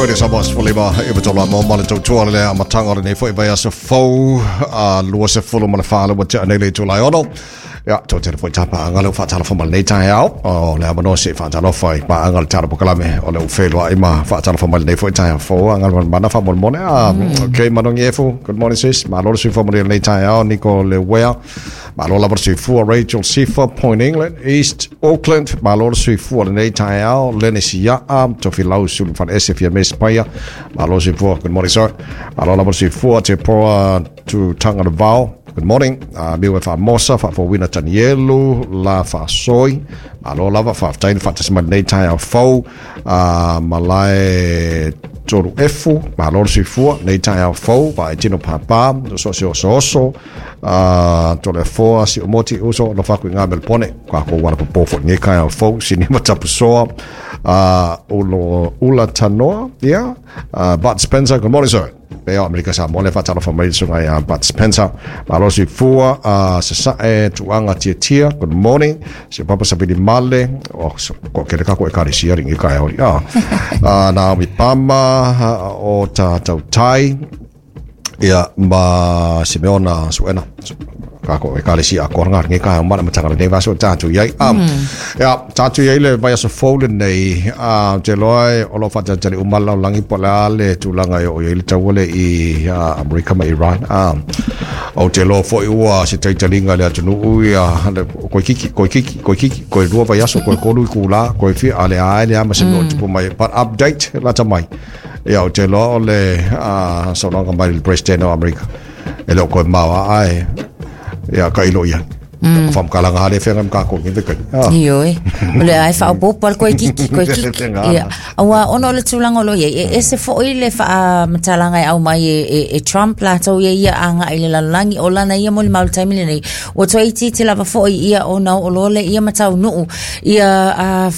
Radio Samoa 15 e patola mo ma le tautua le amataga o lenei foi vaiaso fou a 24 le ua tea nei le itula e 6. Ia, tau tele foi tāpaaga le ua faatalofa ma lenei taeao. O le avanoa se i faatalofa i paaga le tala pokalame o le ua feiloai ma faatalofa mai lenei foi taeao fou a Galumalemana faamolemole. Ah, okay, Manogi Efu, good morning sis. Malo le soifua manuia lenei taeao, Niko Lewea. Malo lava le soifua, Rachel Sifa, Point England, East Auckland. Malo le soifua lenei taeao, Lenny Siaa, Tofilau Sulu Faleese, Fiame Spaia. Malo le soifua, good morning sir. Malo lava le soifua, Te Poa Tu Tangata Good morning. Miu e Faamosa, Faafouina Tanielu, La Faasoi. Malo lava, faafetai le faatasi mai lenei taeao fou. Malae Toru Efu, malo le soifua, lenei taeao fou, Vaai Tino Pāpā, so se oso oso, Toleafoa, Si'omoti, uso, alofa atu i ngā Melpone, ka ko wala popo fo lenei taeao fou, Sinima Tapusoa, Ulo, Ula Tanoa, yeah, Bud Spencer, good morning sir. Pea o Amerika Samoa le faatalofa mai le susuga ia Bud Spencer. Malo soifua, sasae tuaga tiatia. Good morning. Si o Papa Savili Male, o ko kele ka ko ekalesia ringi ka e hori. Naomi Pama, o ta tautai, ia ma Simeona Suena. Ka ko ekalesia a koanga ringi ka e mana matanga lenei vaso tātu iai. Ia, tātu iai le vaiaso fou lenei, te loa e o lo whātatari umala o langi po le a le tūlanga e o iai le taua le i Amerika ma Iran. O te loa foi ua se taitalinga le atunuu ia, le, koe kiki, koe kiki, koe kiki, koe lua vaiaso, koe kolu i kūlā, koe fia, a le ae le ama se mea o tupu mai. But update, lata mai. Ia, o te loa o le saunoaga mai le President o Amerika. E le o koe maoa ae, ia, ka ilo ia. Mm. Whamkalanga hale whenga mga ko ngi kai. Ah. Ioe. O le ai whaopopo al koe kiki, koe kiki. Ia. Aua ona o le tūlanga o lo ia, e ese foi le whaamatalaga e au mai e, e, e Trump latou ia ia āga i le lalolagi o lana ia mo le mau taimi lenei. Ua toe itiiti lava foi ia ona oo loa lea ia ma taunuu ia uh,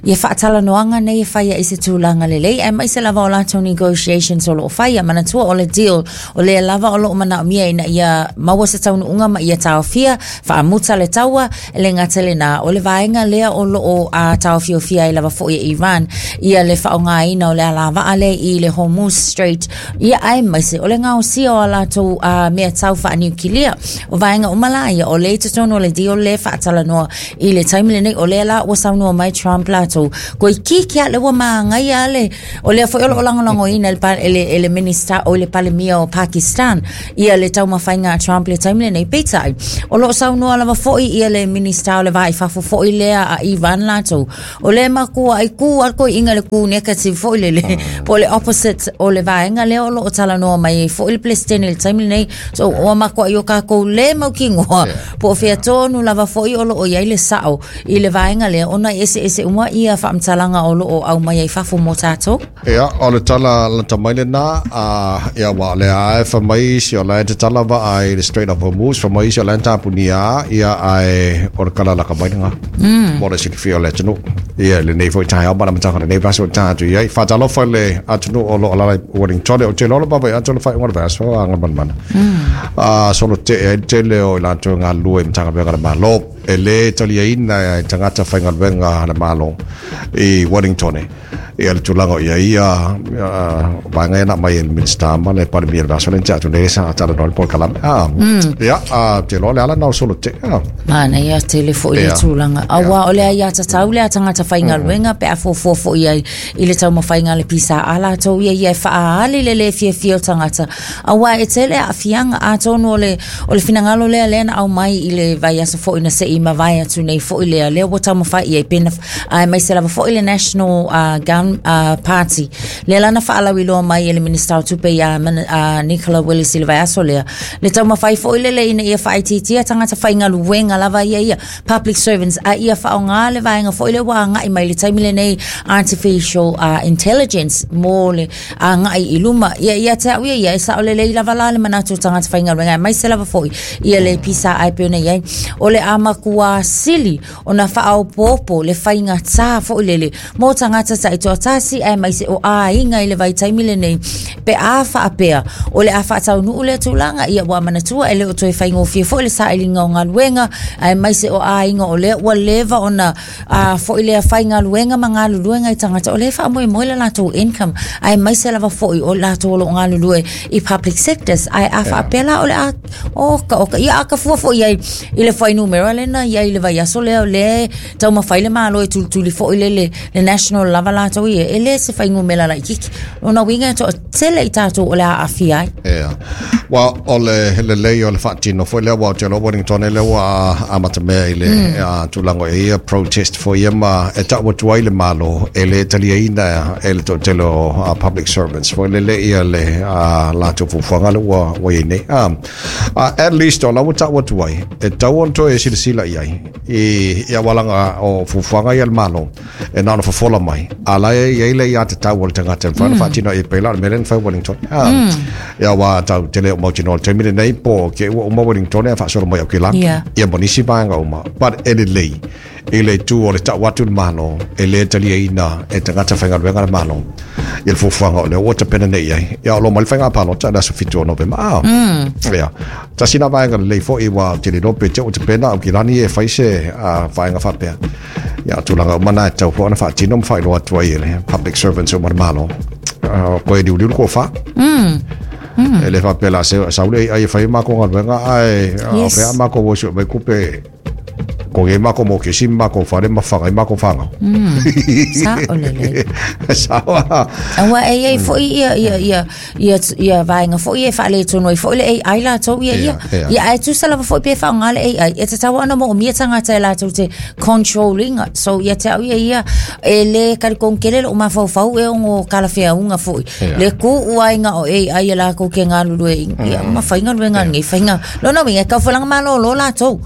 ia faatalanoaga nei e faia i se tulaga lelei aemaise lava o latou negotiations o loo faia. Manatua o le deal o lea lava o loo manaomia ina ia maua se taunuuga ma ia taofia faamuta le taua e le gata i lena o le vaega lea o loo a taofiofia ai lava foi e Iran ia le faaaogaina o le alavaa lea i le Hormuz Strait ia aemaise o le gaosia o a latou a mea tau faaniukilia. O vaega uma la ia o lea i totonu o le deal lea faatalanoa I le taimi lenei, o lea la ua saunoa mai Trump latou, toeitiiti lava lea ua magaia le, o lea foi o lo o lagolagoina e le, e le, e le Minista, o le Palemia o Pakistan, ia le taumafaiga a Trump i le taimi lenei. Peitai, o lo o saunoa lava foi ia le Minista o le Va i Fafo foi lea a Iran latou, o lea e makua ai kū a le toeaiina i le kū negative foi lele, po o le opposite o le vaega lea o lo o talanoa mai ai foi le Peresetene i le taimi lenei. So, ua makuai o kākou le mautinoa po o fea tonu lava foi o lo o i ai le sao i le vaega lea ona e eseese uma ia faamatalaga o lo o aumai ai fafo mo tātou. Ia, o le tala lata mai lena, a, ia, ua o lea e fai mai isi o la e tatala vaa i le Strait of Hormuz, fai mai isi o la e tapunia, ia, ae o le kala laka mai lena. Mo le silafia o le atunuu. Ia, i lenei foi taeao ma le amataga o lenei vaiaso e ta atu i ai. Faatalofa i le atunuu o lo o alaala i Wellington, ou te iloa lava vaai atu le faaiuga o le vaiaso a Galumalemana. A solo tee ai le tele o i latou e galulue i Matagaluega a le Malo. E le taliaina e tagata faigaluega a le Malo i Wellington ia le tulaga o i ai ia vaega ia na aumai e le Minisita ma le Palemia i le vaiaso lea na tea atu nei sa talanoa i le polokalame. Ia, ou te iloa o le ala lena o le solo tee. Manaia tele foi le tulaga. Aua o le aiatatau lea a tagata faigaluega pe a fuafua foi i ai i le taumafaiga a le PSA latou ia ia e faaali le lē fiafia o tagata aua e tele aafiaga atonu o le o le finagalo lea lea na aumai i le vaiaso foi na se i mavae atu nei foi lea lea ua taumafai i ai pe na aemaise lava foi le National Gun Party lea la na faalauiloa mai e le Minista o Tupe ia Nicola Willis i le vaiaso lea le taumafai foi lele ina ia faaitiitia tagata faigaluega lava ia ia public servants a ia faaaoga le vaega foi lea ua agai mai i le taimi lenei artificial intelligence mo le agai i luma. Ia ia te au ia ia e sao lelei lava la le manatu o tagata faigaluega aemaise lava foi ia le PSA e pei ona i ai. O le a matua sili ona faaopoopo le faigatā foi lele mo tagata taitoatasi aemaise o aiga i le vaitaimi lenei pe a faapea o le a faataunuu lea tulaga ia ua manatua e le o toe faigofie foi le sailiga o galuega aemaise o aiga o lea ua leva ona a foi lea faigaluega ma galulue nai tagata o lea e faamoemoe le latou income aemaise lava foi o latou o loo galulue i public sectors ae a faapea la o le a oka oka ia a kafua foi ai i le fuainumera lena i ai i le vaiaso lea o lea e taumafai le Malo e tulituli foi le le le national lava latou ia e le se fuainumera laitiiti lona uiga e toatele i tatou o le a aafia ai. Ia. Ua o le lelei o le faatino foi lea ua ou te iloa Wellington lea ua amatamea i le tulaga e ia protest foi ia ma e tau atu ai le Malo e le taliaina e le toatele o public servants foi lele ia le latou fuafuaga lea ua i ai nei. At least o la ua tau atu ai e tatau ona toe silasila i ai i aualaga o fuafuaga ia a le Malo e na ona fofola mai a la e i ai le aiatatau a le tagata e mafai ona faatino e pei la o le mea lea na fai Wellington. Ia aua tau te le o mautinoa i le taimi lenei po ke ua uma Wellington e faasolo mai Aukilani ia ma nisi vaega uma but e lelei i le itu o le tau atu le Malo e le taliaina e tagata faigaluega le Malo i le fuafuaga o lea ua tapena nei i ai. Ia o lo o mai le faiga palota i le aso 7 o Novema. Ia, tasi lena vaega lelei foi ua ou te le iloa pe te ua tapena Aukilani e fai se vaega faapea. Ia, o tulaga uma na e tatau foi ona faatino ma faailoa atu ai e le public servants uma le Malo. Koe liuliu le tofa. E le faapea la se sau le ai e fai makou galuega ae o fea makou o sue mai tupe ko e makou mokesi ma makou fale ma faga ai makou fanau. Sao lelei. Sao a. Aua e iai foi ia ia ia ia ia vaega foi e faaletonu ai foi le AI latou ia ia. Ia ae tusa lava foi pe faaaoga le AI e tatau ona moomia tagata e latou te control ina. So ia te au ia ia e le talitonu tele lou mafaufau e ono talafeauga foi. Le tuu ai na o AI e latou te galulue ia ma faigaluega nei faiga. Lona uiga e taufalaga malolo latou.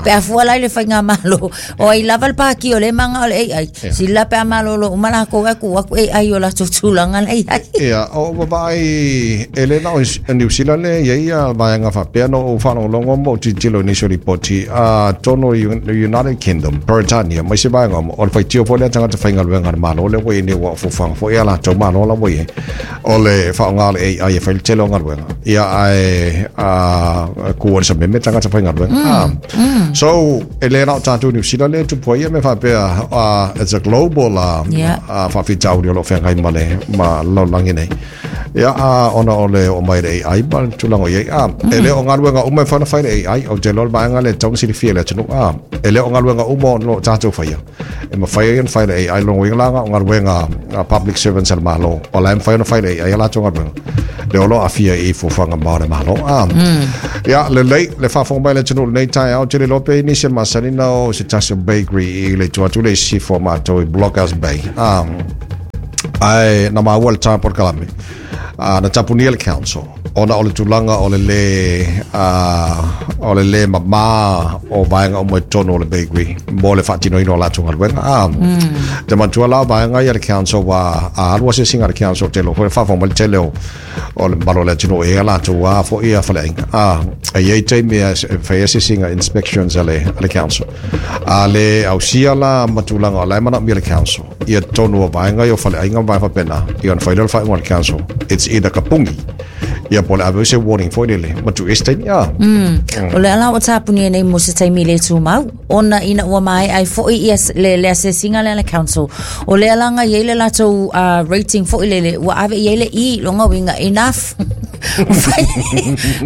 Pe a fua la i le faigamalo o ai lava le pāki o lea e manao le AI. Sili la pe a malolo uma latou ae tuu atu AI i o latou tulaga la i ai. Ia, o vaavaai e le na o Niu Sila le i ai ia vaega faapea na ou faalogologo ma ou tilotilo i nisi o lipoti atonu i United Kingdom, Peretania ma isi vaega uma, o le faitio foi lea tagata faigaluega a le Malo lea ua i ai nei ua fuafuaga foi a latou Malo la ua i ai o le faaaoga o le AI e fai le tele o galuega. Ia ae kū ai le sameme tagata faigaluega. So e le na o tatou Niu Sila lea e tupu ai ia mea faapea, it's a global faafitauli o lo o feagai ma le ma le lalolagi nei. Ia, ona o le oo mai le AI ma le tulaga o i ai. E le o galuega uma e mafai ona fai le AI. Ou te iloa le vaega lea e tatau ona silafia e le atunuu. E le o galuega uma o lo o tatou faia e mafai ai ona fai le AI. Lona uiga la, o galuega a public servants a le Malo, o la e mafai ona fai le AI a latou galuega. Lea o lo o aafia i fuafuaga mamao a le Malo. Ia, lelei, le faafofoga mai a le atunuu i lenei taeao, ou te le iloa pe i ai nisi e masani ona o i se tasi o bakery i le itu atu le i sisifo a matou i Blockhouse Bay. Ae na maua le tā polokalame na tapunia le council ona o le tulaga o le lē o le lē mamā o vaega uma i totonu o le bakery mo le faatinoina o latou galuega. Te manatua la o vaega ia a le council ua a alu asiasiga a le council te iloa foi faafofoga mai le tele o o le mamalu o le atunuu e i ai a latou a foi a faleaiga. E i ai taimi e fai asiasiga inspections a le council. A le ausia la ma tulaga o la e manaomia le council ia totonu o vaega ia o faleaiga ma vaega faapena, ia ona fai lea o le faaiuga a le council, it's either ka pungi, ia po o le ave se warning foi lele, ma tuu i se taimi. O le ala ua tapunia nei mo se taimi le tumau, ona ina ua maea ai foi ia le asiasiga lea a le council, o lea la na i ai le latou rating foi lele, ua ave i ai le E, lona uiga, enough.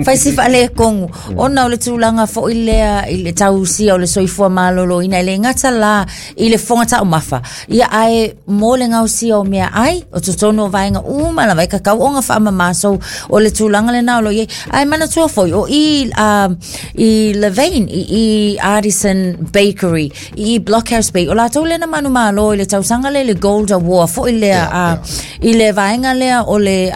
Fai si faaletonu, ona o le tulaga foi lea i le tausia o le soifua maloloina, e le gata la i le fofoga taumafa, ia ae mo le gaosia o meaai, o totonu o vaega uma lava e tatau ona faamama. So o le tulaga lena o lo o i ai. Ae manatua foi, o i i Levain, i Artisan Bakery, i Blockhouse Bay, o latou lea na manumalo i le tausaga lea i le Gold Award foi lea i le vaega lea o le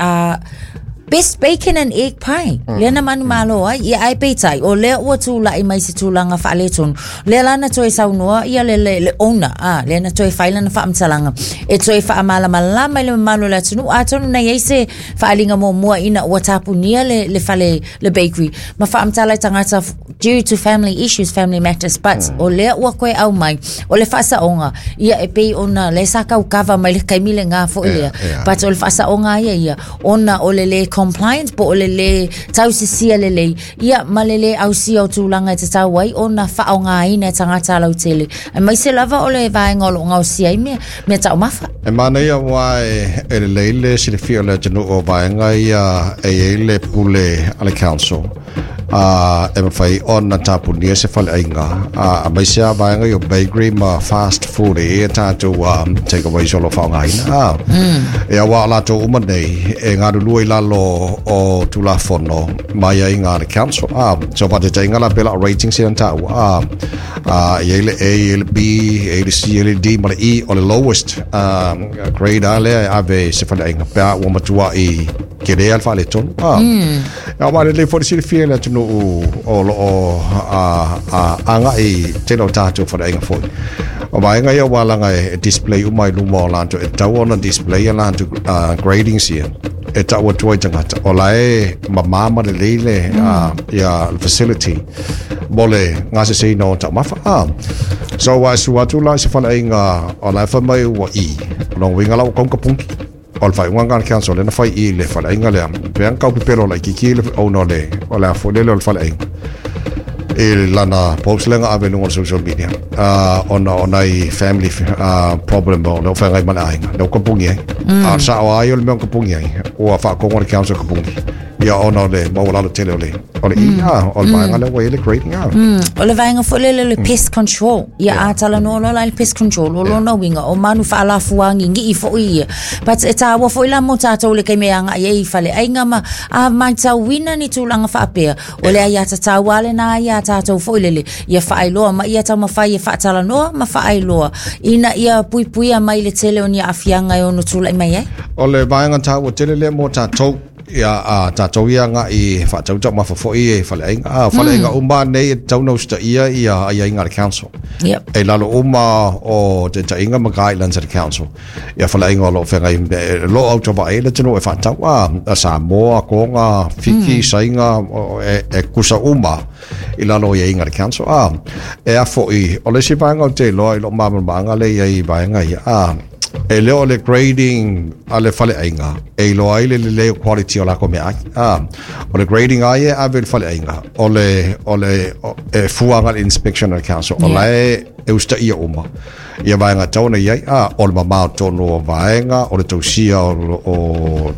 Best bacon and egg pie. Lea na manumalo ai. Ia ae peitai, o lea ua tulai mai se tulaga faaletonu. Lea la na toe saunoa ia le, le, le owner, lea na toe fai lana faamatalaga. E toe faamalamalama i le mamalu o le atunuu, atonu na i ai se faaaliga muamua ina ua tapunia le, le fale, le bakery, ma faamatala i tagata due to family issues, family matters, but o lea ua toe aumai, o le faasaoga, ia e pei ona lea sa tau kava mai le taimi lena foi lea, but o le faasaoga ia ia, ona o le le non-compliance po o le lē tausisia lelei, ia ma le lē ausia o tulaga e tatau ai ona faaaogaina e tagata lautele, aemaise lava o le vaega o lo o gaosia ai mea, mea taumafa. E manaia aua e lelei le silafia o le atunuu o vaega ia e i ai le pule a le council a e mafai ona tapunia se faleaiga aemaise lava vaega ia o bakery ma fast food e i ai a tatou take aways o lo o faaaogaina a. Ia aua o latou uma nei e galulue i lalo o Tulafono ma aiaiga a le council a. So faataitaiga la pei la o ratings ia na taua a. E i ai le A, e i ai le B, e i ai le C, e i ai le D ma le E. O le lowest grade lava lea e ave i se faleaiga pe a ua matuai tele lava le faaletonu. Aua e lelei foi le silafia i le atunuu o lo o agai i tele o tatou faleaiga foi. O vaega ia ua laga e display uma i luma o latou, e tatau ona display a latou gradings ia e tau atu ai i tagata o la e mamā ma lelei le ia facility mo le gaseseina o taumafa. So ua e sua atu la i se faleaiga o la e fai mai ua E, o lona uiga la ua kaunga pungi. O le faaiuga lena a le council lea na fai i le faleaiga lea, pe ana tau pepelo laitiiti le owner o le, o le a foi lele o le faleaiga i lana post lea na ave i luga o le social media ona o nai family problem o lea ua feagai ma le aiga lea ua kapungi ai. A o le sao lava ia o le mea ua kapungi ai, ua faatonu e le council kapungi ia ona o le maualalo tele o le o le E a o le vaega lea ua i ai le grading a. O le vaega foi lele o le pest control. Ia a talanoa loa la i le pest control, o lona uiga o manu faalafuagigii foi ia. But e tāua foi la mo tātou le taimi e agai ai i faleaiga ma a matauina ni tulaga faapea, o le aiatatau lava lena iā tātou foi lele, ia faailoa ma ia taumafai e faatalanoa ma faailoa ina ia puipuia mai le tele o ni aafiaga e ono tulai mai ai. O le vaega taua tele lea mo tātou. Ia, a tātou ia agai e faatau taumafa foi i faleaiga. A, o faleaiga uma nei e tatau ona usitaia ia aiaiga a le council. Yep. E lalo uma o taitaiga ma guidelines a le council. Ia faleaiga o lo o feagai, e lo o autovaa ai le atunuu e faatau, a, a Samoa, Toga, Fiti, Saina, e, e kusa uma i lalo o aiaiga a le council. A, e a foi, o le isi vaega ou te iloa i lou malamalamaaga lea e i ai i vaega ia, a, E le o le grading a le faleaiga e iloa ai le lelei o quality o lākou meaai. O le grading a ia e ave i le faleaiga, o le, o le, e fua agai i le inspection a le council, o la e, e usitaia uma ia vaega e tatau ona i ai, o le mamao tonu o vaega, o le tausia o, o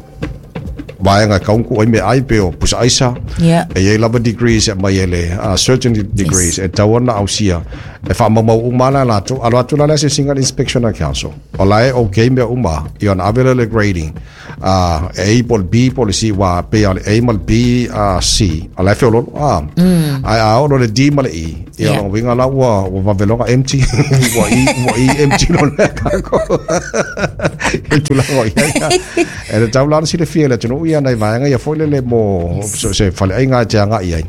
vaega e tatau ona tuu ai meaai pei o pusa aisa. Yeah. E i ai lava degrees e aumai e le certain degrees e tatau ona ausia e faamaumau uma ana e latou. Alo atu la le asiasiga a le inspection a le council, o la e okay mea uma, ia ona ave lea o le grading e A po o le B po o le C, aua pei lava o le A ma le B, C, o la e feoloolo. Ae a oo loa i le D ma le E, ia lona uiga la ua ua vave loa ona empty, ua E, ua E empty loa le cargo. I le tulaga o i ai. E tatau la ona silafia e le atunuu ia nai vaega ia foi lele mo so se faleaiga e te agai ai.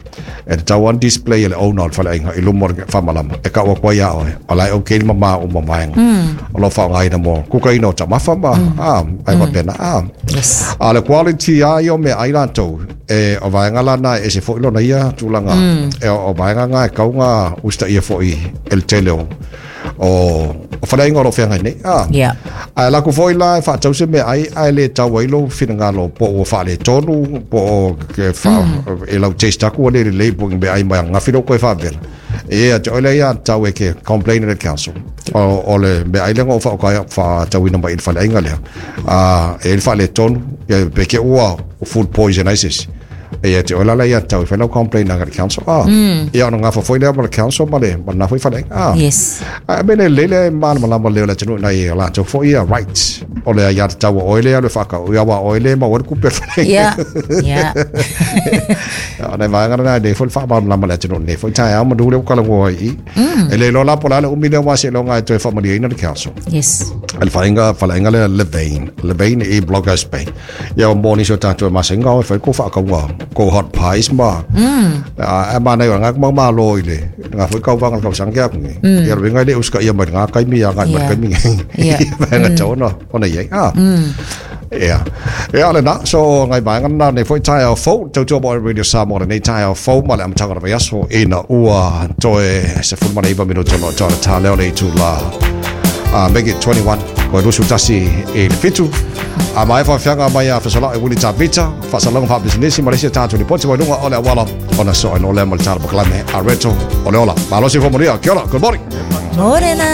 E tatau ona display e le owner o le faleaiga i luma o le faamalama e tau atu ai ia oe, o la e okay le mama uma o vaega o lo o faaaogaina mo kukaina o taumafa ma a, ai faapena a. Yes. A o le quality lava ia o meaai latou, e o vaega la na e ese foi lona ia tulaga, e o vaega na e tatau ona usitaia foi e le tele o o o faleaiga o lo o feagai nei. A. Yeah. Ae alu atu foi la e faatau se meaai ae le tau ai lou finagalo po ua faaletonu po o ke fa, e lau taste atu ua le lelei po o ni meaai mai ananafi lea ua toe faavela. E ia te oe lea ia tau e ke complain i le council. O, o le meaai lea na ou faauka faatauina mai i le faleaiga lea. A, e i ai le faaletonu, ia pe te i ua food poison ai se isi. E ia te oe la lea ia tau e fai lau complain aga i le council. Ah, Ia ona gafa foi lea ma le council ma le ma lena foi faleaiga. Ah. Yes. A mea lelei le malamalama lelei o le atunuu i nai a latou foi ia rights. O le aiatatau a oe lea e alu e faatau, ia aua o oe lea e maua ai le tupe a le faleaiga. Yeah. Yeah. O nai vaega na e lelei foi le faamalamalama i le atunuu i lenei foi taeao manu lea ua talanoa ai i i. E le iloa la po o le a le umi lea aua seiloga e toe faamalieina le council. Yes. Le faleaiga, faleaiga lea Levain, Levain i Blockhouse Bay. Ia mo nisi o tātou e masenga o e whai ko whaakaunga ko hot pies ma. A e mana i o ngā kumau malo i le ngā whai kauwanga le kausanga ke aku nge. Ia roinga i le uska ia mai ngā kaimi ia ngai mai kaimi nge. Yeah. Vaenga tau ona ona iai. Ah. Ia. Ia le na, so ngai vaenga na nei foi taeao fou, tautua mo Radio Samoa lenei taeao fou ma le amataga o le vaiaso ina ua toe 19 minute o lo o tā leo le itulā. Make it 21, koe 21 i le 7. A mai faafiaga mai a fesolaʻi Wili Tavita, faasalauga faapisinisi ma le isi a tatou lipoti mai luga o le auala ona soo ai loa lea ma le tala polokalame a Reto o le Ola. Malo soifua manuia. Kia ora. Good morning. Morena.